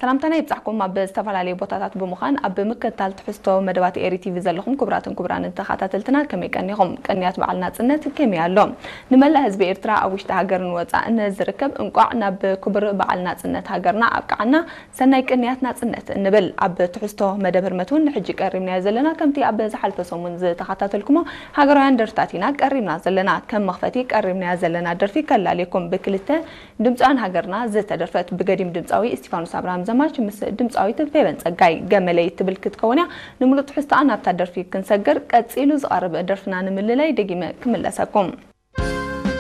ሰላምታና ይብጻሕኩም። ኣብ ዝተፈላለዩ ቦታታት ብምዃን ኣብ ምክትታል ትሕዝቶ መደባት ኤሪ ቲቪ ዘለኹም ክቡራትን ክቡራንን ተኸታተልትና ከመይ ቀኒኹም? ቅንያት በዓል ናጽነት ከመይ ኣሎ? ንመላእ ህዝቢ ኤርትራ ኣብ ውሽጢ ሃገርን ወጻእን ዝርከብ እንቋዕ ናብ ክቡር በዓል ናጽነት ሃገርና ኣብቅዓና። ሰናይ ቅንያት ናጽነት እንብል። ኣብ ትሕዝቶ መደብ ህርመት እውን ንሕጂ ቀሪብናዮ ዘለና ከምቲ ኣብ ዝሓልፈ ሰሙን ዝተኸታተልኩሞ ሃገራውያን ደርፍታት ኢና ቀሪብና ዘለና። ከም መኽፈቲ ቀሪብናያ ዘለና ደርፊ ከላልየኩም። ብክልተ ድምፃውያን ሃገርና ዝተደርፈት ብገዲም ድምፃዊ እስቲፋኖስ ኣብርሃም ዘማች ምስ ድምፃዊት ፌቨን ጸጋይ ገመለይ ትብል ክትከውን እያ። ንምሉእ ትሕዝቶኣ ናብታ ደርፊ ክንሰግር ቀጺሉ ዝቐርብ ደርፍና ንምልላይ ደጊመ ክምለሰኩም።